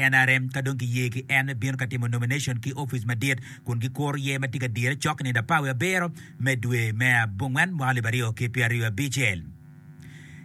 NRM ka dong kiye ki en me bino ka timo nomination ki opic madit kun gikuro yer ma tye ka dire cok i nino apar wiye abiro me dwe me abongwen mwaka 2025.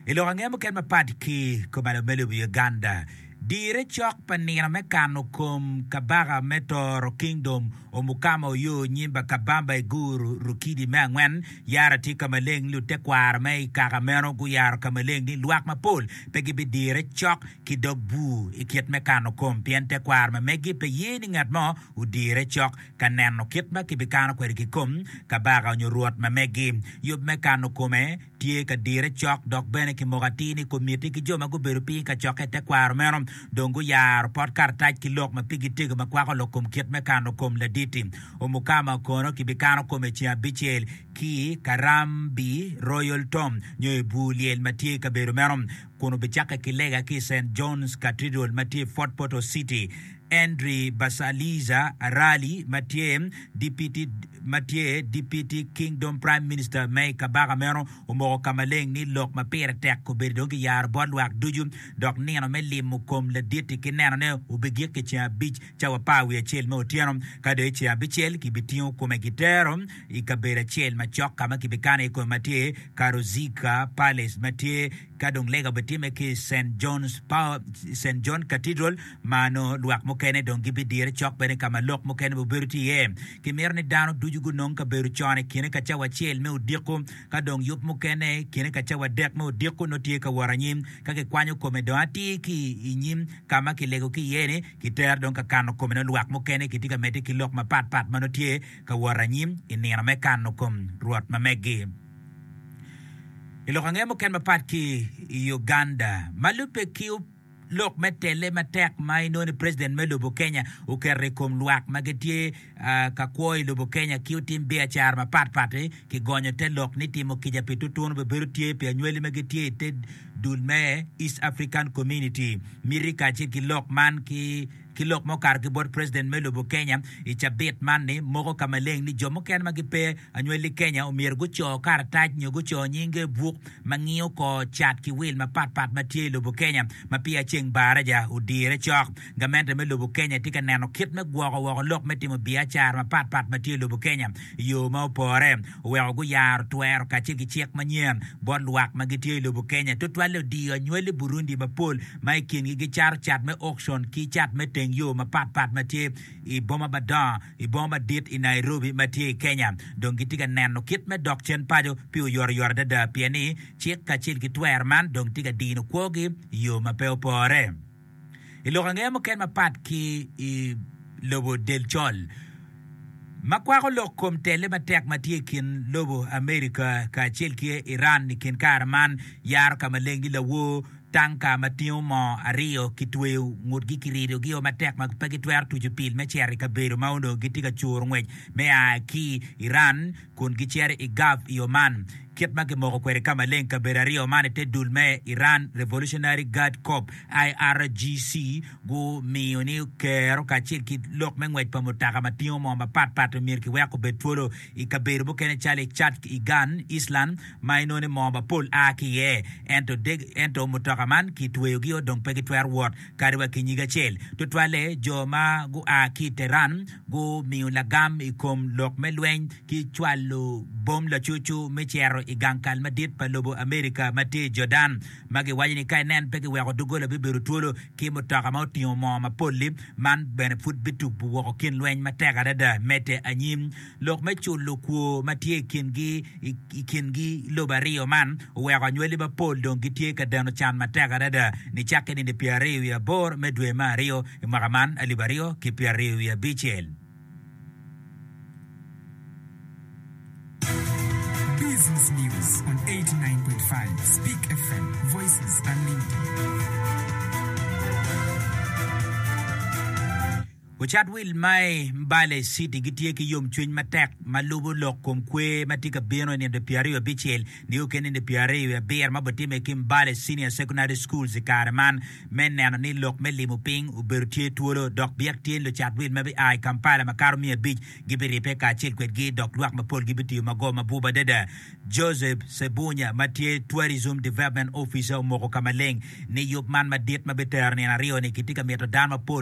I lok ange mukene mapat ki kumalo me lobo Uganda, dire cok pa nino me kano kom kabaka me Toro Kingdom Omukama Oyo Nyimba Kabamba Iguru Rukidi me angwen yaro tye ka maleng ni lutekwaro me i kaka meno guyaro ka maleng ni lwak mapol pe gibidire cok ki dog bur i kit me kano kom, pien tekwaro ma megi pe ye ni ngat mo odire cok ka neno kit ma kibikano kwede ki kom kabaka onyo rwot ma megi. Yub me kano kome tye ka dire cok, dok bene kimoko atir ni komiti ki jo ma gubedo piny i kacokke i tekwaro meno dong guyaro pot karatac ki lok ma pigi tego ma kwako lok kom kit me kano kom ladit-ti. Omukama kono kibikano kome ceng abicel ki Karambi Royal Tomb nyo i bur lyel ma tye i kabedo meno. kun obicakke ki lega ki i Saint John's Cathedral ma tye i Fort Portal City. Henry Basaliza Arali ma tye Deputy ma tye Deputy Kingdom Prime Minister me i kabaka meno omoko ka maleng ni lok ma pire tek obedo dong kiyaro bot lwak ducu dok nino me limo kom ladit-ti ki nenone obigik i ceng abic cawa apar wiye acel me otyeno. Ka dong i ceng abicel kibitingo kome kitero i kabedo acel macok ka ma kibikano iye kome ma tye Karuzika Palace ma tye ka dong lega obitimme ki i Saint John's Saint John Cathedral ma nongo lwak mukene dong gibidire cok bene ka ma lok mukene bibedo tye iye. Kimito ni dano ducu gunong kabedo con i kine ka cawa acel me odiko ka dong yub mukene i kine ka cawa adek me odiko nongo tye ka wot anyim ka kikwanyo kome dong atir ki i nyim ka ma kilego ki iye-ni kitero dong ka kano kome nongo lwak mukene kitye ka medde ki lok mapat pat ma nongo tye ka wot anyim i nino me kano kom Rwot ma meggi. I lok ange mukene mapat ki i Uganda, ma lubbe ki lok me telle matek ma inongo ni President me lobo Kenya oketo i kom lwak ma gitye ka kwo i lobo Kenya ki otim biacara mapat pat-ti, kigonyo te lok ni timo kica pi tutunu bibedo tye pi anywali ma gitye i te dul me East African Community. Miti kacel ki lok man ki Ki lok ma okato ki bot President me lobo Kenya i cabit man ni moko ka maleng ni jo mukene ma gipe anywali Kenya omyero guco karatac nyo guco nyinge i buk ma ngiyo kor cat ki wil mapat pat ma tye i lobo Kenya ma peya ceng baraja odire cok. Gamente me lobo Kenya tye ka neno kit me gwoko woko lok me timo biacara mapat pat ma tye i lobo Kenya i yo ma opore oweko guyaro twero kacel ki cik manyen bot lwak ma gitye i lobo Kenya tutwalle odiyo anywali Burundi mapol ma i kingi gicato cat me auction ki cat me teng yo mapat pat ma tye i boma madongo i boma madit i Nairobi ma tye i Kenya. Dong gitye ka neno kit me dok cen paco pi oyotoyot adada pien ni cik kacel ki twero man dong tye ka dino kwogi i yo ma pe opore. I lok angeya mukene mapat ki i lobo del col ma kwako lok kom telle matek ma tye i kin lobo Amerika kacel ki Iran i kin kare man yaro ka maleng ni lawor Tanka ma tingo moo aryo kitweyo ngutgi kiridogi-o matek ma pe gitwero tuco pil me cito i kabedo ma onongo gitye ka curo ngwec me a ki Iran kun gicito i Gulf i Oman. Kit ma kimoko kwede ka maleng, kabedo aryo man i te dul me Iran Revolutionary Guard Corps, IRGC, gumiyo ni kero kacel ki lok me ngwec pa mutoka ma tingo moo mapatpat myero kiwek obed twolo i kabedo mukene calo i Chat Igan Island ma inongo ni moo mapol a ki iye. Ento ento mutoka man kitweyogi-o dong pe gitwero wot kadi wa ki nyig acel. Tutwalle jo ma gua ki i Tehran gumiyo lagam i kom lok me lweny ki cwalo bom lacucu me cito i gang kal madit pa lobo Amerika ma tye i Jordan ma giwaco ni ka inen pe kiweko doggola bibedo twolo ki mutoka ma otingo moo mapol-li man bene pud bitubo woko kin lweny matek adada medde anyim. Lok me culo kwor ma tye i kingi i kingi lobo aryo man oweko anywali mapol dong gitye ka deno can matek adada nicakke nino pyeraryo wiye aboro me dwe me aryo i mwaka man alip aryo ki pyeraryo wiye abicel. Business News on 89.5 Speak FM, Voices Unlimited. Lucat wil ma i Mbale City gitye ki yomcwiny matek ma lubo lok kom kwer ma tye ka bino i nino 26 nio ki nino 27 ma bitimme ki Mbale Senior Secondary Schools i kare man me neno ni lok me limo piny obedo tye twolo dok byek tye ni lucat wil ma bia i Kampala makato 500 gibiribbe kacel kwedgi dok lwak mapol gibitiyo mago mabup adada. Joseph Ssebunya ma tye Tourism Development Officer omoko ka maleng ni yub man madit ma bitero nino aryo-ni kitye ka mito dano mapol.